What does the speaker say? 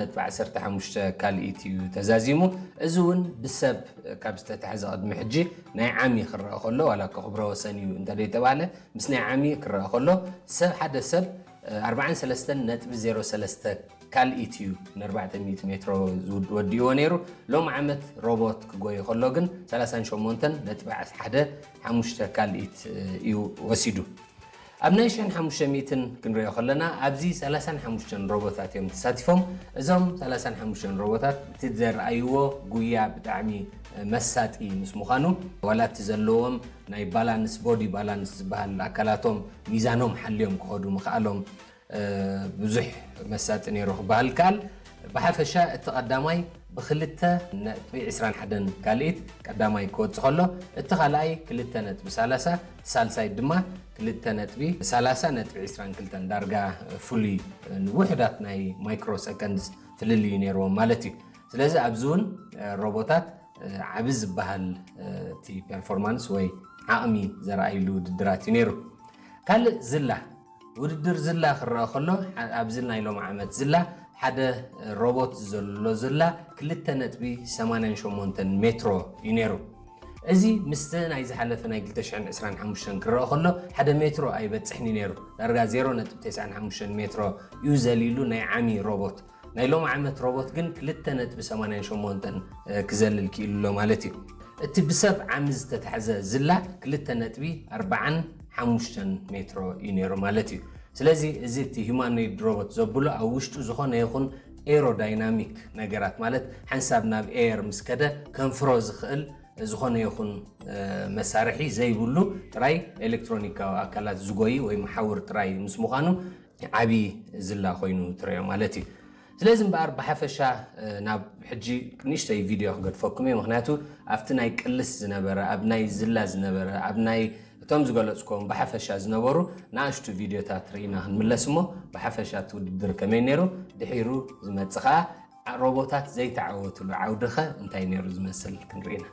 ነጥቢ ዓሰርተ ሓሙሽተ ካልኢት እዩ ተዛዚሙ። እዚ እውን ብሰብ ካብ ዝተታሕዘ ቅድሚ ሕጂ ናይ ዓሚ ክረአ ከሎ፣ ዋላ እኮ ክብረ ወሰን እዩ እንተደይተባለ፣ ምስ ናይ ዓሚ ክረአ ከሎ፣ ሰብ ሓደ ሰብ ኣርባዓን ሰለስተን ነጥቢ ዜሮ ሰለስተ ካልኢት እዩ ን ኣርባዕተ ሚእቲ ሜትሮ ዝውድ-፣ ወዲእዎ ነይሩ። ሎም ዓመት ሮቦት ክጎይ ከሎ ግን ሰላሳን ሸሞንተን ነጥቢ ሓደ ሓሙሽተ ካልኢት እዩ ወሲዱ። ኣብ ናይ ሽሕን ሓሙሽተ ሚእትን ክንሪኦ ከለና፣ ኣብዚ ሰላሳን ሓሙሽተን ሮቦታት እዮም ተሳቲፎም። እዞም ሰላሳን ሓሙሽተን ሮቦታት እቲ ዘርኣይዎ ጉያ ብጣዕሚ መሳጢ ምስ ምዃኑ፣ ዋላ እቲ ዘለዎም ናይ ባላንስ፣ ቦዲ ባላንስ ዝበሃል ኣካላቶም ሚዛኖም ሓልዮም ክኸዱ ምኽኣሎም ብዙሕ መሳጢ ነይሩ ክበሃል ይከኣል። ብሓፈሻ እቲ ቀዳማይ ብክልተ ነጥቢ ዕስራን ሓደን ካልኢት ቀዳማይ ክወጽእ ከሎ፣ እቲ ካልኣይ ክልተ ነጥቢ ሰላሳ፣ እቲ ሳልሳይ ድማ ክልተ ነጥቢ ሰላሳ ነጥቢ ዕስራን ክልተን፣ ዳርጋ ፍሉይ ንውሑዳት ናይ ማይክሮ ሰከንድስ ፍልልዩ ነይርዎም ማለት እዩ። ስለዚ ኣብዚ እውን ሮቦታት ዓቢ ዝበሃል እቲ ፐርፎርማንስ ወይ ዓቕሚ ዘርኣይሉ ውድድራት እዩ ነይሩ። ካልእ ዝላ፣ ውድድር ዝላ ክረአ ከሎ፣ ዓ-፣ ኣብዚ ናይ ሎም ዓመት ዝላ ሓደ ሮቦት ዘሎ ዝላ ክልተ ነጥቢ ሰማንያን ሸሞንተን ሜትሮ እዩ ነይሩ። እዚ ምስቲ ናይ ዝሓለፈ ናይ ክልተ ሽሕን ዕስራን ሓሙሽተን ክረአ ከሎ ሓደ ሜትሮ ኣይበጽሕን እዩ ነይሩ። ዳርጋ ዜሮ ነጥቢ ተስዓን ሓሙሽተን ሜትሮ እዩ ዘሊሉ ናይ ዓሚ ሮቦት። ናይ ሎም ዓመት ሮቦት ግን ክልተ ነጥቢ ሰማንያን ሸሞንተን ክዘልል ክኢሉ ኣሎ ማለት እዩ። እቲ ብሰብ ዓሚ ዝተታሕዘ ዝላ ክልተ ነጥቢ ኣርባዓን ሓሙሽተን ሜትሮ እዩ ነይሩ ማለት እዩ። ስለዚ እዚ እቲ ሂማኖይድ ሮቦት ዘብሎ ኣብ ውሽጡ ዝኾነ ይኹን ኤሮዳይናሚክ ነገራት፣ ማለት ሓንሳብ ናብ ኤየር ምስ ከደ ከንፍሮ ዝኽእል ዝኾነ ይኹን፣ እ፣ መሳርሒ ዘይብሉ ጥራይ ኤሌክትሮኒካዊ ኣካላት ዝጎይ ወይ መሓውር ጥራይ ምስ ምዃኑ ዓቢ ዝላ ኮይኑ ትረዮ ማለት እዩ። ስለዚ እምበኣር ብሓፈሻ፣ እ፣ ናብ ሕጂ ንእሽተይ ቪድዮ ክገድፈኩም እየ። ምኽንያቱ ኣብቲ ናይ ቅልስ ዝነበረ፣ ኣብ ናይ ዝላ ዝነበረ፣ ኣብ ናይ እቶም ዝገለጽኩዎም ብሓፈሻ ዝነበሩ ንኣሽቱ ቪድዮታት ርኢና ክንምለስ እሞ፣ ብሓፈሻ እቲ ውድድር ከመይ ነይሩ፣ ድሒሩ ዝመጽእ ኸኣ ሮቦታት ዘይተዓወትሉ ዓውዲ ኸ እንታይ ነይሩ ዝመስል ክንርኢ ኢና።